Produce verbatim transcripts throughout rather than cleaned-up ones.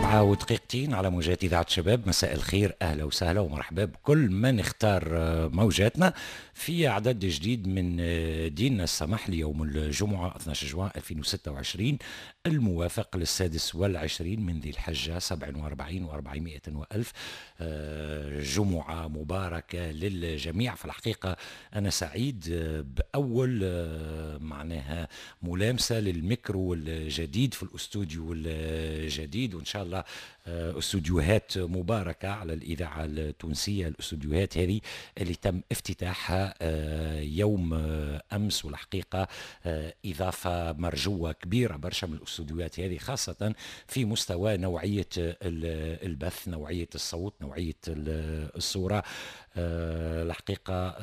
السبعة ودقيقتين على موجات إذاعة شباب. مساء الخير، أهلا وسهلا ومرحبا بكل من اختار موجاتنا في عدد جديد من ديننا السمح ليوم الجمعة اثني عشر جوان ألفين وستة وعشرين الموافق للسادس والعشرين من ذي الحجة سبع وأربعين وأربعمائة وألف. جمعة مباركة للجميع. في الحقيقة أنا سعيد بأول معناها ملامسة للميكرو الجديد في الأستوديو الجديد، وإن شاء الله استوديوهات مباركة على الإذاعة التونسية. الاستوديوهات هذه اللي تم افتتاحها يوم أمس، والحقيقة إضافة مرجوة كبيرة برشا من الاستوديوهات هذه، خاصة في مستوى نوعية البث، نوعية الصوت، نوعية الصورة. الحقيقة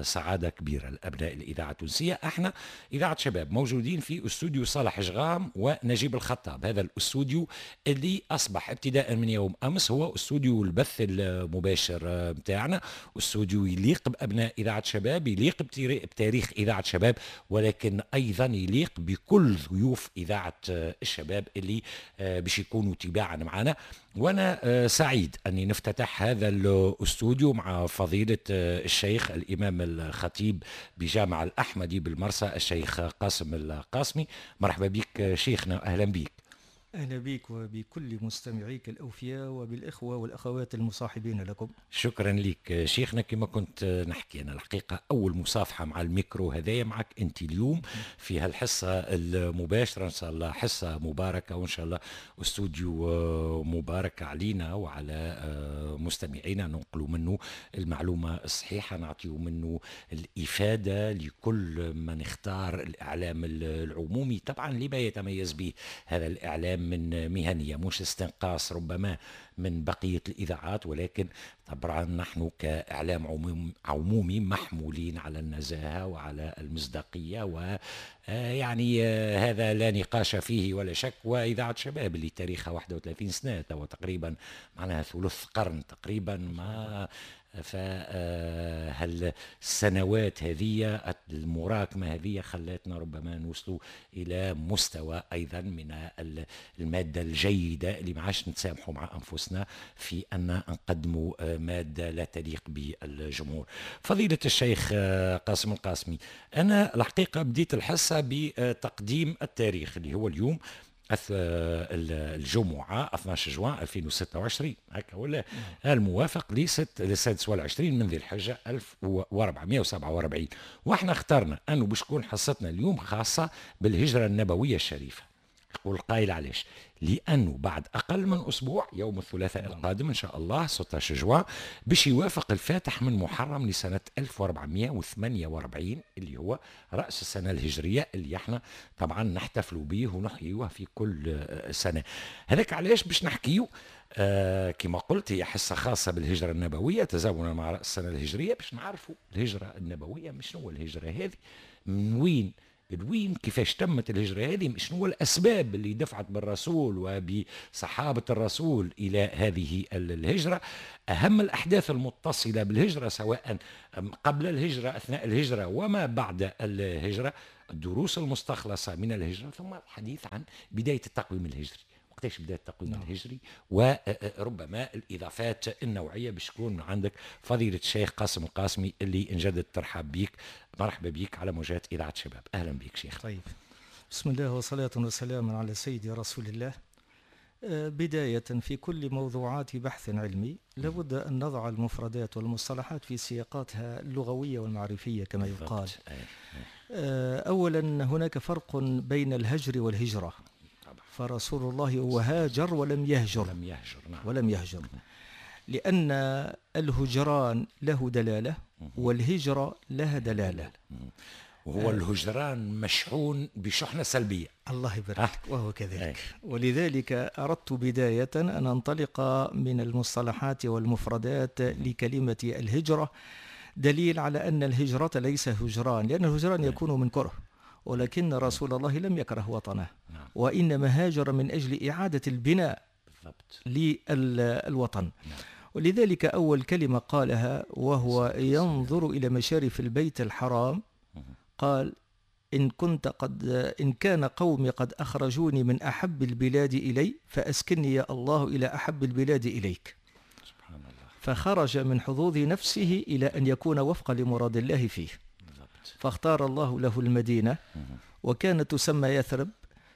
سعادة كبيرة لأبناء الإذاعة التونسية. احنا إذاعة شباب موجودين في استوديو صالح جغام ونجيب الخطاب، هذا الاستوديو اللي أصبح ابتداء من يوم أمس هو استوديو البث المباشر متاعنا. استوديو يليق بأبناء إذاعة شباب، يليق بتاريخ إذاعة شباب، ولكن أيضا يليق بكل ضيوف إذاعة الشباب اللي باش يكونوا تباعا معنا. وأنا سعيد أني نفتتح هذا الاستوديو مع فضيلة الشيخ الإمام الخطيب بجامع الأحمدي بالمرسى الشيخ قاسم القاسمي. مرحبا بك شيخنا، أهلا بك. أهلا بك وبكل مستمعيك الأوفياء وبالإخوة والأخوات المصاحبين لكم. شكرا لك شيخنا. كما كنت نحكي أنا الحقيقة أول مصافحة مع الميكرو هذايا معك أنت اليوم في هالحصة المباشرة، إن شاء الله حصة مباركة وإن شاء الله استوديو مبارك علينا وعلى مستمعينا، ننقل منه المعلومة الصحيحة، نعطيه منه الإفادة لكل من اختار الإعلام العمومي، طبعا لما يتميز به هذا الإعلام من مهنية، مش استنقاص ربما من بقية الإذاعات، ولكن طبعا نحن كإعلام عموم عمومي محمولين على النزاهة وعلى المصداقية، ويعني هذا لا نقاش فيه ولا شك. وإذاعة شباب اللي تاريخها واحد وثلاثين سنة تقريبا، معناها ثلث قرن تقريبا، ما فهل السنوات هذه المراكمة هذه خلتنا ربما نوصلوا إلى مستوى أيضا من المادة الجيدة اللي ما عادش نتسامحوا مع أنفسنا في أن نقدموا مادة لا تليق بالجمهور. فضيلة الشيخ قاسم القاسمي، أنا الحقيقة بديت الحصة بتقديم التاريخ اللي هو اليوم الجمعة اثني عشر جوان ألفين وستة وعشرين هكا ولا، الموافق للسادس والعشرين من ذي الحجة ألف وأربعمائة وسبعة وأربعين. واحنا اخترنا أنه باش تكون حصتنا اليوم خاصة بالهجرة النبوية الشريفة. يقول قائل علاش؟ لأنه بعد أقل من أسبوع يوم الثلاثاء القادم إن شاء الله ستة عشر جوان باش يوافق الفاتح من محرم لسنة ألف وأربعمائة وثمانية وأربعين اللي هو رأس السنة الهجرية اللي احنا طبعا نحتفلوا به ونحيوه في كل سنة. هذاك علاش باش نحكيو آه كما قلت هي حصة خاصة بالهجرة النبوية تزامنا مع رأس السنة الهجرية، باش نعرفوا الهجرة النبوية، مش شنو الهجرة هذه، من وين وين، كيفاش تمت الهجرة هذه، شنو الأسباب اللي دفعت بالرسول وبصحابة الرسول إلى هذه الهجرة، أهم الأحداث المتصلة بالهجرة سواء قبل الهجرة، أثناء الهجرة، وما بعد الهجرة، الدروس المستخلصة من الهجرة، ثم الحديث عن بداية التقويم الهجري، وقتاش بدأ التقويم نعم. الهجري، وربما الإضافات النوعية باش تكون عندك فضيلة الشيخ قاسم القاسمي اللي نجدد ترحب بيك. مرحبا بك على موجات إذاعة شباب، أهلا بك شيخ. طيب، بسم الله وصلاة وسلام على سيدي رسول الله. بداية في كل موضوعات بحث علمي لابد أن نضع المفردات والمصطلحات في سياقاتها اللغوية والمعرفية كما يقال. أولا هناك فرق بين الهجر والهجرة، فرسول الله هو هاجر ولم يهجر، لم يهجر نعم. ولم يهجر، لأن الهجران له دلالة والهجرة لها دلالة. وهو الهجران مشحون بشحنة سلبية. الله يبارك، وهو كذلك. ولذلك أردت بداية أن أنطلق من المصطلحات والمفردات لكلمة الهجرة، دليل على أن الهجرة ليس هجران، لأن الهجران يكون من كره، ولكن رسول الله لم يكره وطنه، وإنما هاجر من أجل إعادة البناء للوطن. ولذلك أول كلمة قالها وهو ينظر إلى مشارف البيت الحرام قال إن كنت قد إن كان قومي قد أخرجوني من أحب البلاد إلي فأسكني يا الله إلى أحب البلاد إليك. سبحان الله. فخرج من حظوظ نفسه إلى أن يكون وفقا لمراد الله فيه. بالضبط. فاختار الله له المدينة، وكانت تسمى يثرب،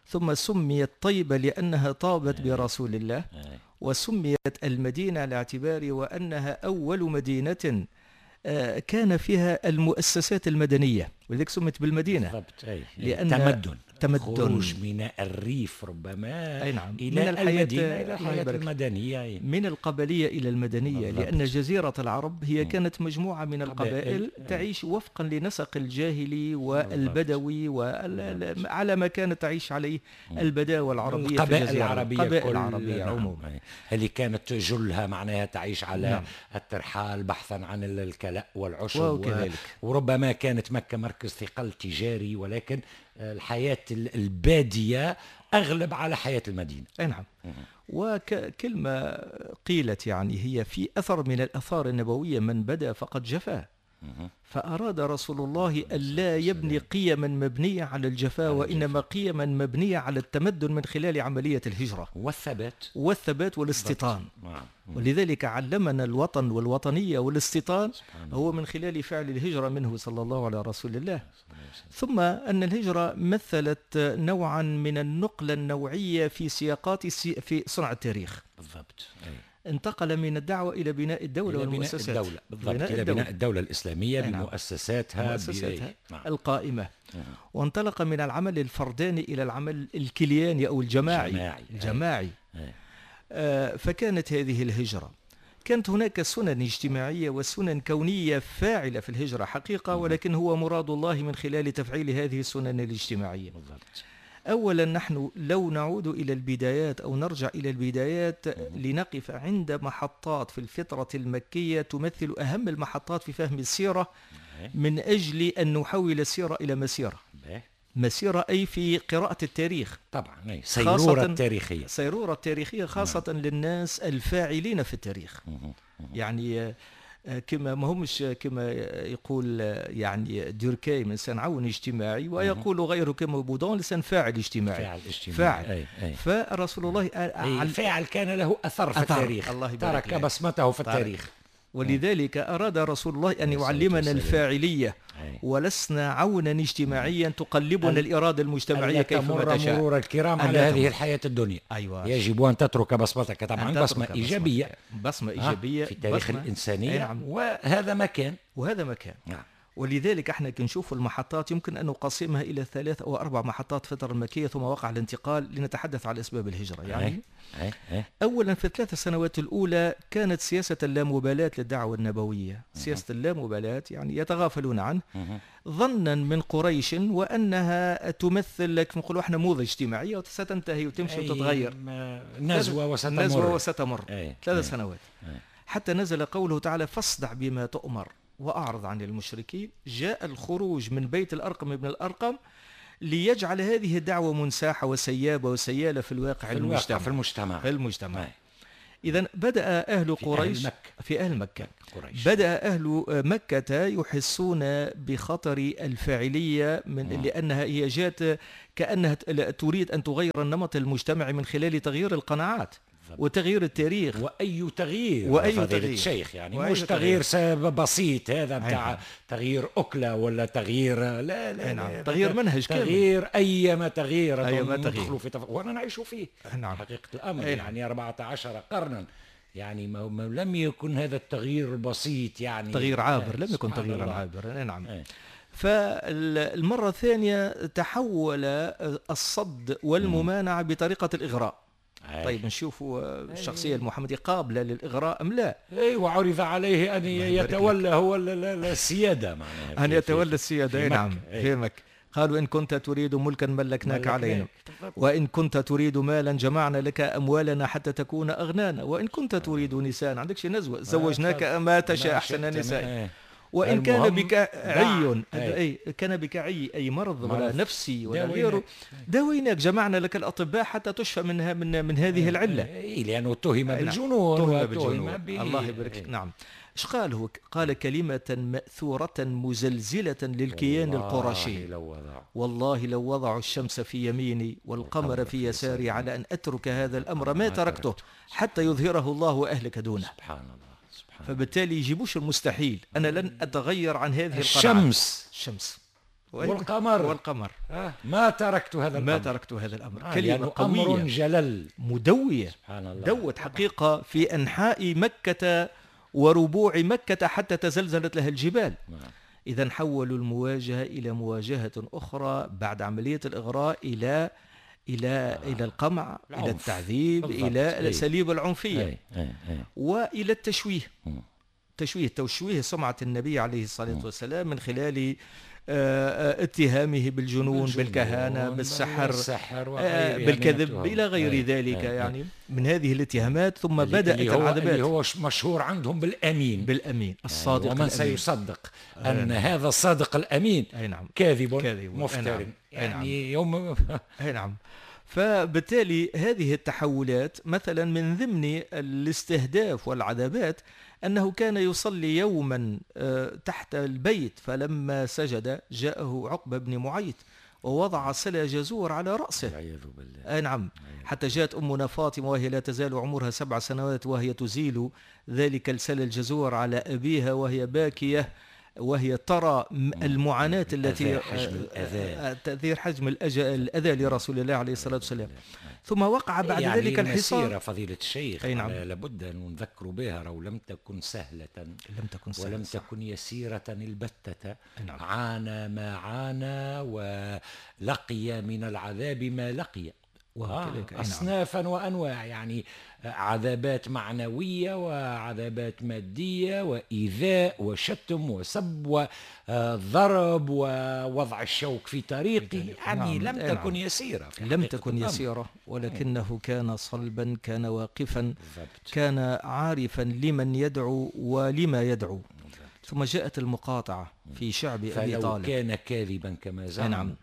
ثم سميت طيبة لأنها طابت برسول الله، وسميت المدينة على اعتبار وأنها أول مدينة كان فيها المؤسسات المدنية، ولذلك سميت بالمدينة. بالضبط. أي. لأن تمدن تمدن خروج من الريف ربما. أي نعم. إلى من الحياة المدينة، إلى الحياة المدنية. أي. من القبلية إلى المدنية. بالضبط. لأن جزيرة العرب هي م. كانت مجموعة من القبائل تعيش وفقا لنسق الجاهلي والبدوي وال... على ما كانت تعيش عليه البداوة العربية، القبائل العربية، القبائل العربية عموما اللي كانت جلها معناها تعيش على نعم. الترحال بحثا عن الكلاء والعشب وكذلك. و... وربما كانت مكة مركز ثقل تجاري، ولكن الحياة البادية أغلب على حياة المدينة. أي نعم. وكلمة قيلت يعني هي في أثر من الأثار النبوية: من بدا فقد جفا. فأراد رسول الله ألا يبني قيما مبنية على الجفاء، وإنما قيما مبنية على التمدن من خلال عملية الهجرة والثبات والثبات والاستيطان. ولذلك علمنا الوطن والوطنية والاستيطان هو من خلال فعل الهجرة منه صلى الله على رسول الله. ثم أن الهجرة مثلت نوعا من النقلة النوعية في سياقات في صنع التاريخ. بالضبط. انتقل من الدعوة إلى بناء الدولة إلى والمؤسسات. بناء الدولة. بالضبط. بناء إلى الدولة. بناء الدولة الإسلامية نعم. بمؤسساتها, مؤسساتها نعم. القائمة. نعم. وانطلق من العمل الفرداني إلى العمل الكلياني أو الجماعي. الجماعي. الجماعي. أي. آه فكانت هذه الهجرة. كانت هناك سنن اجتماعية وسنن كونية فاعلة في الهجرة حقيقة، ولكن هو مراد الله من خلال تفعيل هذه السنن الاجتماعية. بالضبط. أولا نحن لو نعود إلى البدايات أو نرجع إلى البدايات لنقف عند محطات في الفترة المكية تمثل أهم المحطات في فهم السيرة، من أجل أن نحول السيرة إلى مسيرة. مسيرة أي في قراءة التاريخ. طبعا. سيرورة التاريخية. سيرورة التاريخية خاصة نعم. للناس الفاعلين في التاريخ. يعني كما ما همش كما يقول يعني دوركايم انسان عون اجتماعي، ويقول غيره كما بودون انسان فاعل اجتماعي. فاعل اجتماعي. فاعل. أي أي. فرسول الله أي فاعل كان له أثر في أثر. التاريخ. الله يبارك ترك بصمته في التاريخ. ولذلك أراد رسول الله أن يعلمنا الفاعلية، ولسنا عونا اجتماعيا تقلبنا الإرادة المجتمعية كيفما تشاء. مرور الكرام على هذه الحياة الدنيا. أيوة. يجب أن تترك بصمتك طبعا، أن بصمة إيجابية. بصمة إيجابية في تاريخ بصمة. الإنسانية. نعم. وهذا ما كان. وهذا ما كان. نعم. ولذلك احنا كنشوف المحطات يمكن أن نقسمها إلى ثلاث أو أربع محطات فترة المكية، ثم وقع الانتقال لنتحدث على أسباب الهجرة. يعني أي. أي. أولا في الثلاث سنوات الأولى كانت سياسة اللامبالاة للدعوة النبوية. سياسة اللامبالاة يعني يتغافلون عنه ظنا من قريش وأنها تمثل كما نقولوا احنا موضة اجتماعية وستنتهي وتمشي وتتغير، نزوة وستمر. نزوة وستمر. ثلاث سنوات. أي. حتى نزل قوله تعالى: فاصدع بما تؤمر وأعرض عن المشركين. جاء الخروج من بيت الأرقم ابن الأرقم ليجعل هذه الدعوة منساحة وسيابة وسيالة في الواقع في المجتمع. المجتمع. في المجتمع. في المجتمع. إذا بدأ أهل في قريش أهل مكة. في أهل مكة قريش. بدأ أهل مكة يحسون بخطر الفاعلية من مم. لأنها هي جاءت كأنها تريد أن تغير النمط المجتمعي من خلال تغيير القناعات وتغيير التاريخ. واي تغيير واي تغيير الشيخ يعني مش تغيير بسيط هذا بتاع تغيير اكله ولا تغيير لا لا, نعم. لا تغيير منهج كامل، تغيير اي ما تغيير أي ما تغيير في تف... وانا نعيش فيه. نعم. حقيقه الامر نعم. يعني أربعة عشر قرنا يعني ما... ما لم يكن هذا التغيير البسيط، يعني تغيير عابر، لم يكن تغييرا عابرا. نعم. أي. فالمره الثانيه تحول الصد والممانعه بطريقه الاغراء. أي. طيب نشوفوا الشخصية المحمدية قابلة للإغراء أم لا؟ أي، وعرض عليه أن يتولى هو السيادة، معناها أن يتولى السيادة. نعم. في مكة قالوا: إن كنت تريد ملكا ملكناك علينا، وإن كنت تريد مالا جمعنا لك أموالنا حتى تكون أغنانا، وإن كنت تريد نساء عندك شي نزوة زوجناك ما تشاء أحسن النساء. وإن كان بك عي، أي كان بك عي أي مرض ولا نفسي ولا غيره، داويناك، جمعنا لك الأطباء حتى تشفى منها من من هذه العلة. إيه لأنه اتهم بالجنون. اتهم بالجنون. الله يبارك فيك. نعم. ايش قال هو؟ قال كلمة مأثورة مزلزلة للكيان القرشي: والله لو وضعوا الشمس في يميني والقمر في يساري على أن أترك هذا الأمر ما تركته حتى يظهره الله وأهلك دونه. سبحان الله. سبحان. فبالتالي يجيبوش المستحيل، أنا لن أتغير عن هذه القناعة. الشمس الشمس والقمر والقمر آه. ما تركت هذا الأمر، ما تركت هذا الأمر. آه. كلمة قوية، أمر جلل مدوية. سبحان الله. دوت حقيقة في أنحاء مكة وربوع مكة حتى تزلزلت لها الجبال. نعم. إذا حولوا المواجهة إلى مواجهة أخرى بعد عملية الإغراء إلى إلى آه. إلى القمع، العنف. إلى التعذيب، بالضبط. إلى الأساليب العنفية، أي. أي. أي. وإلى التشويه. م. تشويه تشويه سمعة النبي عليه الصلاة والسلام من خلال اتهامه بالجنون، بالجنون، بالكهانة، بالسحر، بالسحر بالكذب، إلى غير أي. ذلك. أي. يعني من هذه الاتهامات. ثم اللي بدأت اللي هو العذابات. اللي هو مشهور عندهم بالأمين، بالأمين الصادق، يعني ومن الأمين. سيصدق أن أي. هذا الصادق الأمين أي نعم. كاذب، كاذب مفتر. أي نعم. يعني يوم أي نعم. فبالتالي هذه التحولات مثلا من ضمن الاستهداف والعذابات أنه كان يصلي يوما تحت البيت، فلما سجد جاءه عقبة بن معيط ووضع سلة جزور على رأسه. والعياذ بالله. أي نعم. حتى جاءت أمنا فاطمة وهي لا تزال عمرها سبع سنوات وهي تزيل ذلك السلة الجزور على أبيها وهي باكية، وهي ترى المعاناة التي حجم الأذى، تأثير حجم الأذى لرسول الله عليه الصلاة والسلام. ثم وقع بعد يعني ذلك الحصار. فضيلة الشيخ أي نعم. لابد أن نذكر بها، لو لم تكن سهلة، لم تكن سهلة، ولم تكن يسيرة البتة. نعم. عانى ما عانى ولقي من العذاب ما لقي، آه أصنافا وأنواع، يعني عذابات معنوية وعذابات مادية وإيذاء وشتم وسب وضرب ووضع الشوك في طريقه. يعني نعم. لم تكن يسيرة، لم تكن يسيرة، ولكنه كان صلبا، كان واقفا، بالضبط. كان عارفا لمن يدعو ولما يدعو. بالضبط. ثم جاءت المقاطعة في شعب أبي طالب. فلو كان كاذبا كما زعم نعم.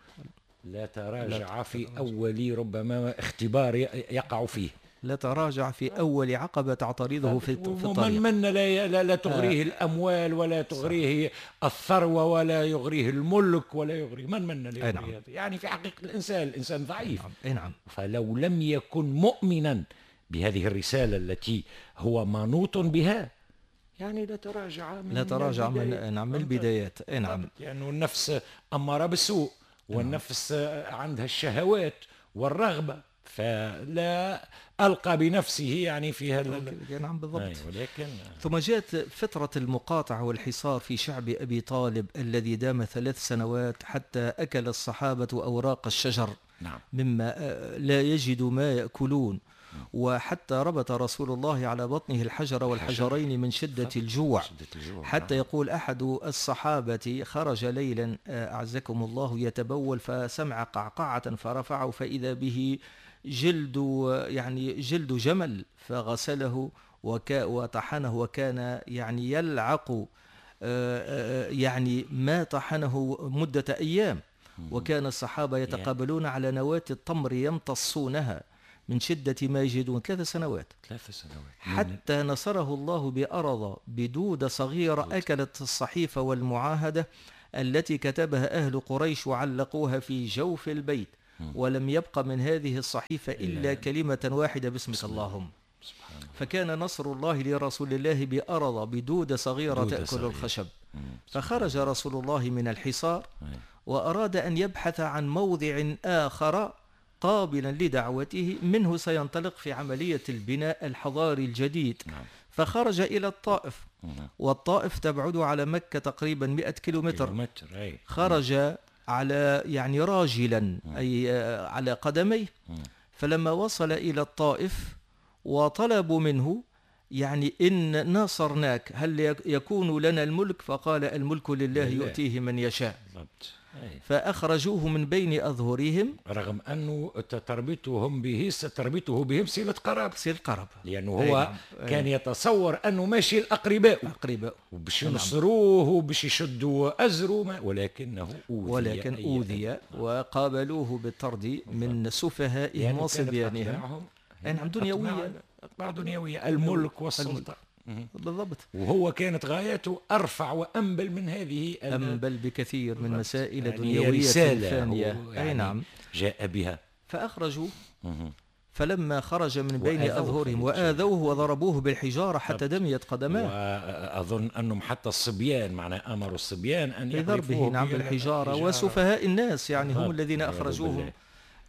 لا تراجع في أول ربما اختبار يقع فيه، لا تراجع في أول عقبة تعترضه في الطريق. ومن من لا, لا, لا تغريه آه. الأموال ولا تغريه الثروة ولا يغريه الملك ولا يغريه من من لا يغريه نعم. هذا. يعني في حقيقة الإنسان الإنسان ضعيف. نعم. نعم. فلو لم يكن مؤمنا بهذه الرسالة التي هو منوط بها يعني لا تراجع من لا تراجع من نعم من البدايات. نعم. لأنه يعني النفس أمارة بالسوء، والنفس عندها الشهوات والرغبة، فلا ألقى بنفسه يعني في هذا. نعم بالضبط. ولكن ثم جاءت فترة المقاطعة والحصار في شعب أبي طالب الذي دام ثلاث سنوات حتى أكل الصحابة أوراق الشجر. نعم. مما لا يجدوا ما يأكلون، وحتى ربط رسول الله على بطنه الحجر والحجرين من شدة الجوع، حتى يقول أحد الصحابة خرج ليلا أعزكم الله يتبول فسمع قعقعة فرفعه فإذا به جلد يعني جلد جمل فغسله وطحنه، وكان يعني يلعق يعني ما طحنه مدة أيام، وكان الصحابة يتقابلون على نواة التمر يمتصونها من شدة ما يجدون. ثلاث سنوات ثلاث سنوات حتى نصره الله بأرض بدودة صغيرة أكلت الصحيفة والمعاهدة التي كتبها أهل قريش وعلقوها في جوف البيت، ولم يبق من هذه الصحيفة إلا كلمة واحدة: باسمك اللهم. سبحان الله. فكان نصر الله لرسول الله بأرض بدودة صغيرة تأكل صغيرة. الخشب. فخرج رسول الله من الحصار وأراد أن يبحث عن موضع آخر قابلا لدعوته منه سينطلق في عملية البناء الحضاري الجديد. نعم. فخرج إلى الطائف، نعم. والطائف تبعد على مكة تقريبا مئة كيلومتر. كيلومتر. أي. خرج على يعني راجلا، نعم. أي على قدميه. نعم. فلما وصل إلى الطائف وطلبوا منه يعني إن ناصرناك هل يكون لنا الملك؟ فقال الملك لله يؤتيه من يشاء. بالضبط. فأخرجوه من بين أظهرهم، رغم أنه تربيتهم به تربيته بهم صلة قرابة، صلة قرابة، لأنه هو أي كان يتصور أنه ماشي الأقرباء أقرباء وباش ينصروه وباش يشدوا أزره، ولكنه أوذي، ولكن أوذي وقابلوه بالطرد من سفهائهم وصبيانهم. نعم، دنيوية، أطماع دنيوية، الملك والسلطة. بالضبط. وهو كانت غايته أرفع وأنبل من هذه، أنبل بكثير من مسائل يعني دنيوية ثانية. يعني أي نعم، جاء بها. فأخرجوا، فلما خرج من بين أظهرهم وآذوه وضربوه بالحجارة حتى دميت قدماه. وأظن أنهم حتى الصبيان، معنى أمروا الصبيان أن يضربه نعم بالحجارة، وسفهاء الناس يعني هم الذين أخرجوهم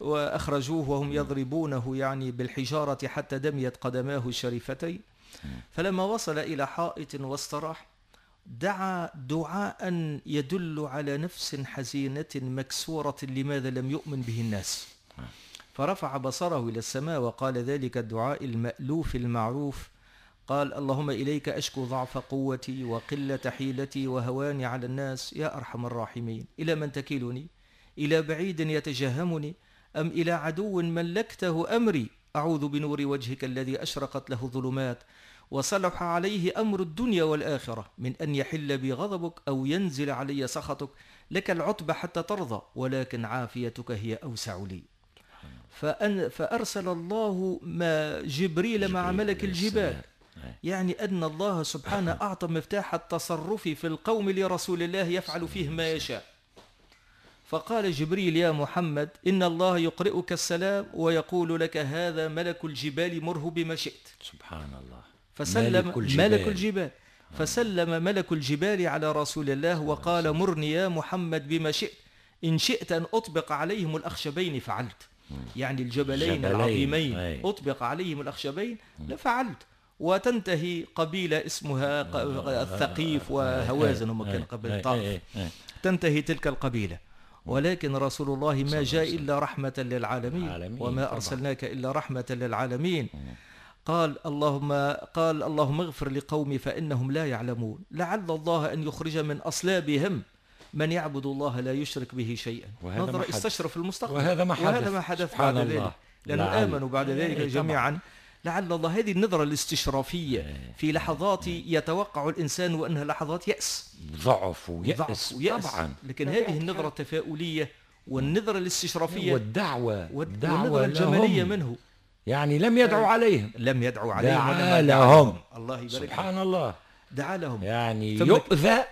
وأخرجوه وهم يضربونه يعني بالحجارة حتى دميت قدماه الشريفتين. فلما وصل إلى حائط واستراح، دعا دعاء يدل على نفس حزينة مكسورة لماذا لم يؤمن به الناس. فرفع بصره إلى السماء وقال ذلك الدعاء المألوف المعروف، قال: اللهم إليك أشكو ضعف قوتي وقلة حيلتي وهواني على الناس يا أرحم الراحمين. إلى من تكلني؟ إلى بعيد يتجهمني؟ أم إلى عدو ملكته أمري؟ أعوذ بنور وجهك الذي أشرقت له الظلمات وصلح عليه أمر الدنيا والآخرة، من أن يحل بي غضبك أو ينزل علي سخطك. لك العتبى حتى ترضى، ولكن عافيتك هي أوسع لي. فأن فأرسل الله ما جبريل مع ملك الجبال، يعني أن الله سبحانه أعطى مفتاح التصرف في القوم لرسول الله يفعل فيه ما يشاء. فقال جبريل: يا محمد، إن الله يقرئك السلام ويقول لك هذا ملك الجبال، مره بما شئت. سبحان الله. فسلم ملك الجبال, ملك الجبال. فسلم ملك الجبال على رسول الله وقال: مرني يا محمد بما شئت، إن شئت أن أطبق عليهم الأخشبين فعلت. يعني الجبلين العظيمين أطبق عليهم الأخشبين لفعلت. وتنتهي قبيلة اسمها الثقيف وهوازن، هم كان قبل الطائف، تنتهي تلك القبيلة. ولكن رسول الله ما جاء إلا رحمة للعالمين، وما أرسلناك إلا رحمة للعالمين. قال اللهم قال اللهم اغفر لقومي فإنهم لا يعلمون، لعل الله أن يخرج من أصلابهم من يعبد الله لا يشرك به شيئا. نظر استشرف المستقبل، وهذا ما حدث, وهذا ما حدث بعد ذلك، لأنه آمنوا بعد ذلك جميعا. لعل الله، هذه النظرة الاستشرافية في لحظات يتوقع الإنسان وأنها لحظات يأس، ضعف ويأس, ويأس طبعا، لكن هذه النظرة التفاؤلية والنظرة الاستشرافية والدعوة والنظرة الجمالية منه، يعني لم يدعو عليهم، لم يدعو عليهم، دعا لهم. الله يبارك، سبحان الله، دعا لهم، يعني يؤذى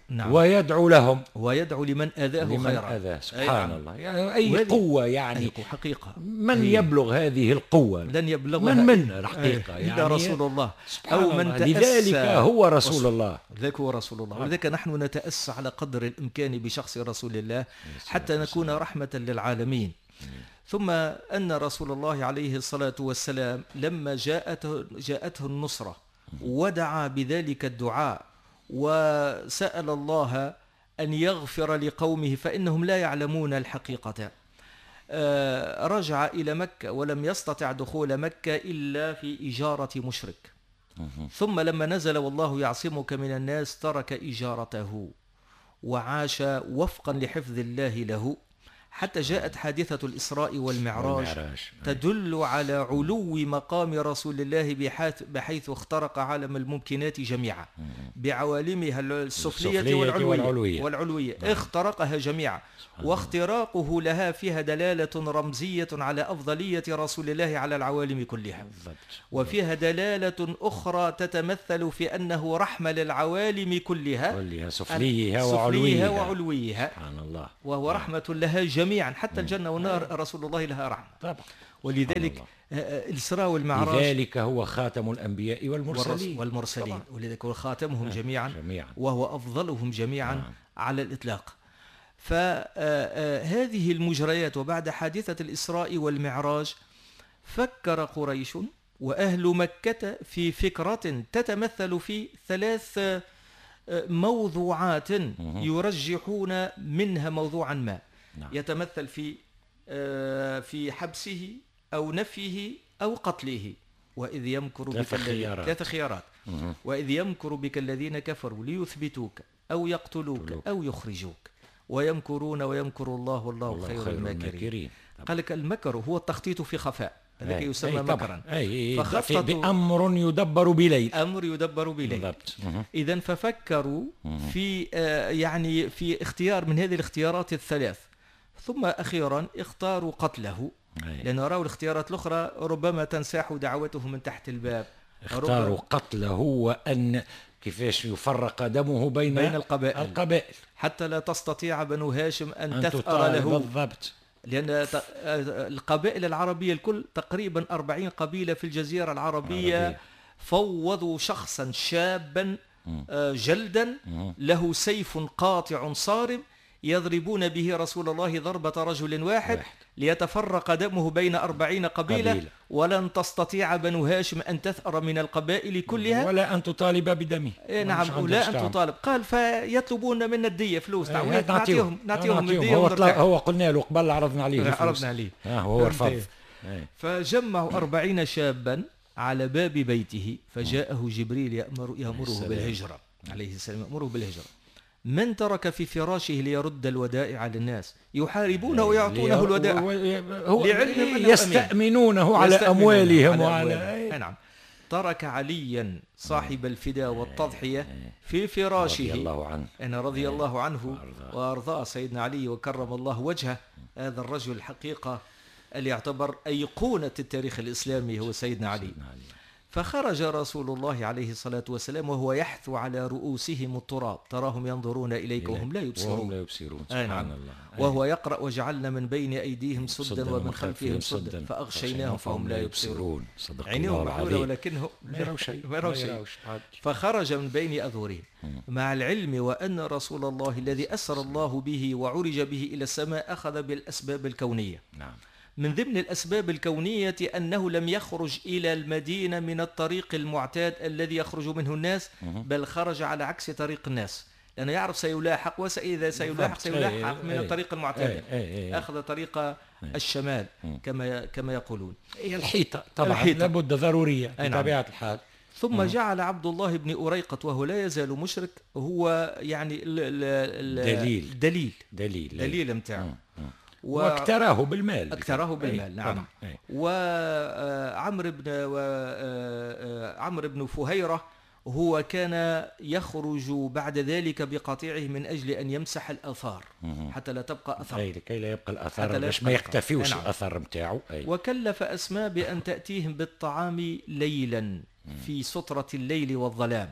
نعم. ويدعو لهم، ويدعو لمن آذاه لمن خيرا. آذاه. سبحان الله، يعني أي قوة، يعني أي حقيقة، من يبلغ هذه القوة؟ لن يبلغها من من الحقيقة، يعني إلا رسول الله أو من تأسى. لذلك هو رسول الله، لذلك هو رسول الله. ولذلك نحن نتأسى على قدر الإمكان بشخص رسول الله حتى نكون رحمة للعالمين. ثم أن رسول الله عليه الصلاة والسلام لما جاءته جاءته النصرة ودعا بذلك الدعاء وسأل الله أن يغفر لقومه فإنهم لا يعلمون الحقيقة، رجع إلى مكة ولم يستطع دخول مكة إلا في إجارة مشرك. ثم لما نزل والله يعصمك من الناس ترك إجارته وعاش وفقا لحفظ الله له حتى جاءت حادثة الإسراء والمعراج, والمعراج. تدل على علو مقام رسول الله بحيث اخترق عالم الممكنات جميعا بعوالمها السفلية والعلوية, والعلوية, والعلوية. اخترقها جميعا، واختراقه لها فيها دلالة رمزية على أفضلية رسول الله على العوالم كلها، وفيها دلالة أخرى تتمثل في أنه رحمة للعوالم كلها، كلها سفليها وعلويها, وعلويها. سبحان الله، وهو رحمة لها جميعا حتى الجنة والنار رسول الله لها رحمة. طبعا. ولذلك الإسراء والمعراج، لذلك هو خاتم الأنبياء والمرسلين والمرسلين ولذلك هو خاتمهم جميعا, جميعا وهو أفضلهم جميعا نعم. على الإطلاق. فهذه المجريات وبعد حادثة الإسراء والمعراج فكر قريش وأهل مكة في فكرة تتمثل في ثلاث موضوعات يرجحون منها موضوعا ما نعم. يتمثل في في حبسه أو نفيه أو قتله. وإذ يمكر بك الذين، ثلاث خيارات، وإذ يمكر بك الذين كفروا ليثبتوك أو يقتلوك أو يخرجوك ويمكرون ويمكر الله والله خير, خير الماكرين. قال لك المكر هو التخطيط في خفاء، هذاك يسمى مكرا. فخططوا بأمر يدبر بليل، أمر يدبر بليل. إذا ففكروا في آه يعني في اختيار من هذه الاختيارات الثلاث، ثم أخيرا اختاروا قتله، لأن رأوا الاختيارات الأخرى ربما تنساح دعوته من تحت الباب. اختاروا قتله وأن كيفاش يفرق دمه بين, بين القبائل. القبائل حتى لا تستطيع بنو هاشم أن, أن تثأر له. بالضبط، لأن القبائل العربية الكل تقريبا أربعين قبيلة في الجزيرة العربية عربية. فوضوا شخصا شابا جلدا له سيف قاطع صارم يضربون به رسول الله ضربة رجل واحد, واحد. ليتفرق دمه بين أربعين قبيلة, قبيلة. ولن تستطيع بنو هاشم أن تثأر من القبائل كلها ولا أن تطالب بدمه. إيه نعم، ولا أن تطالب. قال فيطلبون منا الدية، فلوس، إيه نعطيهم نعطيهم الدية. هو, هو قلنا له قبل، عرضنا عليه عرضنا عليه آه هو رفض. فجمعوا أربعين شابا على باب بيته، فجاءه جبريل يأمر يأمره بالهجرة عليه السلام، يأمره بالهجرة. من ترك في فراشه ليرد الودائع للناس، يحاربونه ويعطونه الودائع لعلم يستأمنونه على أموالهم وعلى أموالهم. نعم. ترك عليا صاحب الفداء والتضحية في فراشه رضي الله عنه، أنا رضي الله عنه وأرضاه سيدنا علي وكرم الله وجهه. هذا الرجل الحقيقة اللي يعتبر أيقونة التاريخ الإسلامي هو سيدنا علي. فخرج رسول الله عليه الصلاة والسلام وهو يحثو على رؤوسهم التراب، تراهم ينظرون إليك وهم لا يبصرون. وهم لا يبصرون، سبحان الله. وهو يقرأ وجعلنا من بين أيديهم سدا ومن خلفهم سدا فأغشيناهم فهم لا يبصرون. صدق عينيهم الله محلولة ولكنهم ما يروا شيء، ما يروا شيء. فخرج من بين أظهرهم، مع العلم وأن رسول الله الذي أسر الله به وعرج به إلى السماء أخذ بالأسباب الكونية. نعم. من ضمن الأسباب الكونية أنه لم يخرج إلى المدينة من الطريق المعتاد الذي يخرج منه الناس، بل خرج على عكس طريق الناس، لأنه يعرف سيلاحق، وإذا سيلاحق سيلاحق من الطريق المعتاد. أخذ طريق الشمال كما كما يقولون. هي الحيطة طبعا، الحيطة لابد ضرورية بطبيعة الحال. ثم جعل عبد الله بن أريقط وهو لا يزال مشرك، هو يعني دليل دليل دليل دليل متاعه، واكتراه بالمال، اكتراه بالمال. نعم. وعمر بن عمرو بن فهيرة هو كان يخرج بعد ذلك بقطيعه من أجل أن يمسح الآثار حتى لا تبقى أثر، أي لكي لا يبقى الأثر، باش ما يختفيوش الأثر نتاعو. وكلف أسماء بأن تأتيهم بالطعام ليلا في سترة الليل والظلام،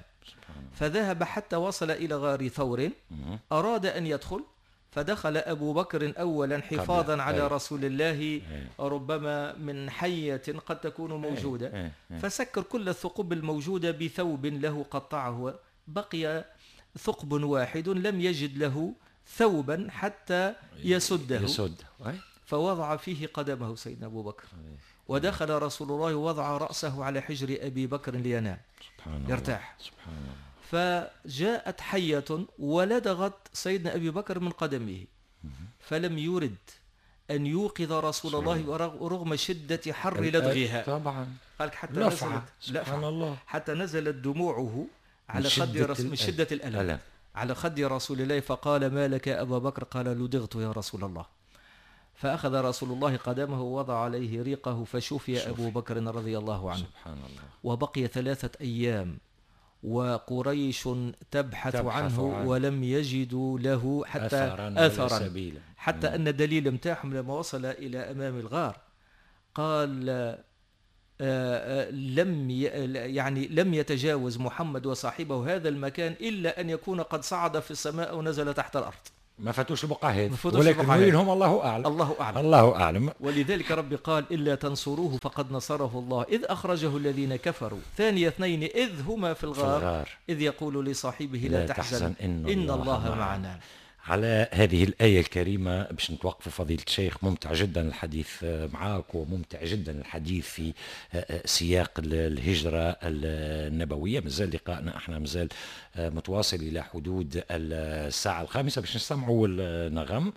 فذهب حتى وصل إلى غار ثور، أراد أن يدخل فدخل أبو بكر أولا حفاظا على أي. رسول الله أي. ربما من حية قد تكون موجودة، أي. أي. فسكر كل الثقوب الموجودة بثوب له قطعه، بقي ثقب واحد لم يجد له ثوبا حتى يسده, يسد. فوضع فيه قدمه سيدنا أبو بكر، ودخل رسول الله ووضع رأسه على حجر أبي بكر لينام يرتاح. سبحان الله. فجاءت حية ولدغت سيدنا أبي بكر من قدمه، فلم يرد أن يوقظ رسول الله رغم شدة حر لدغها. طبعا. قالك حتى نزلت، سبحان الله، حتى نزلت دموعه على خد رسول، من شدة الألم على خد رسول الله، فقال ما لك يا أبا بكر؟ قال لدغت يا رسول الله. فأخذ رسول الله قدمه ووضع عليه ريقه فشفي أبو بكر رضي الله عنه. سبحان الله. وبقي ثلاثة أيام وقريش تبحث, تبحث عنه, عنه ولم يجدوا له حتى أثرا, أثرا حتى مم. أن الدليل متاعهم لما وصل إلى أمام الغار قال آآ آآ لم يعني لم يتجاوز محمد وصاحبه هذا المكان إلا أن يكون قد صعد في السماء ونزل تحت الأرض. ما فاتوش البقعة هذه، ولكن وينهم الله أعلم، الله أعلم، الله أعلم. ولذلك ربي قال إلا تنصروه فقد نصره الله إذ أخرجه الذين كفروا ثاني اثنين إذ هما في الغار, في الغار. إذ يقول لصاحبه لا, لا تحزن, تحزن إن, إن الله, الله معنا. على هذه الآية الكريمة باش نتوقفوا فضيلة الشيخ. ممتع جدا الحديث معاك، وممتع جدا الحديث في سياق الهجرة النبوية. مازال لقائنا احنا مازال متواصل إلى حدود الساعة الخامسة باش نستمعوا النغم،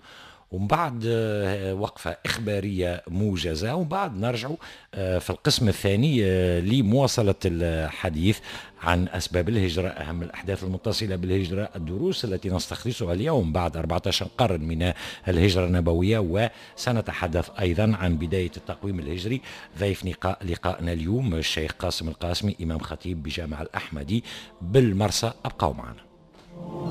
ومن بعد آه، وقفة إخبارية موجزة، ومن بعد نرجع آه، في القسم الثاني آه، لمواصلة الحديث عن أسباب الهجرة، أهم الأحداث المتصلة بالهجرة، الدروس التي نستخلصها اليوم بعد أربعة عشر قرن من الهجرة النبوية، وسنتحدث أيضا عن بداية التقويم الهجري. ضيف لقاءنا اليوم الشيخ قاسم القاسمي، إمام خطيب بجامع الأحمدي بالمرسى. أبقوا معنا.